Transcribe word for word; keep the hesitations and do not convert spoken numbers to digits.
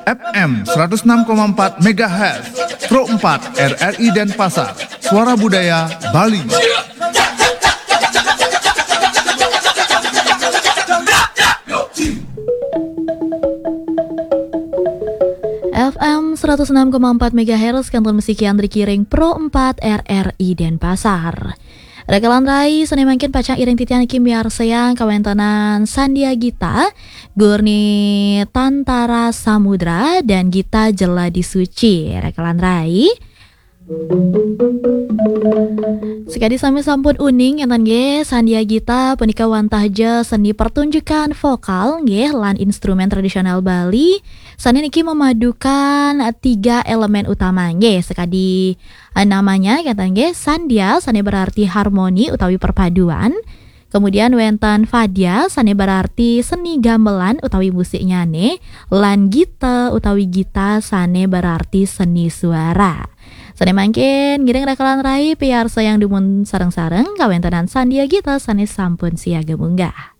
F M seratus enam koma empat megahertz, Pro empat R R I Denpasar, Suara Budaya Bali. F M seratus enam koma empat megahertz, Kantor Musik Yandri Kiring, Pro empat R R I Denpasar. Rakalan rai, sané mangkin pacang iring titiang niki miarsayang kawéntenan Sandia Gita, Gurni Tantara Samudra, dan Gita Jeladi Suci. Rakalan rai. Sakadi sami sampun uning, énten nggih, Sandia Gita punika wantah ja seni pertunjukan vokal nggih lan instrumen tradisional Bali. Sané niki memadukan tiga elemen utama nggih, sakadi eh, namanya kata nggih, sandia sané berarti harmoni utawi perpaduan. Kemudian wénten fadya sané berarti seni gamelan utawi musiknyané, lan gita utawi gita sané berarti seni suara. Sané mangkin ngiring rakalan rai piarsayang dumun sareng-sareng kawéntenan Sandia Gita sané sampun siaga munggah.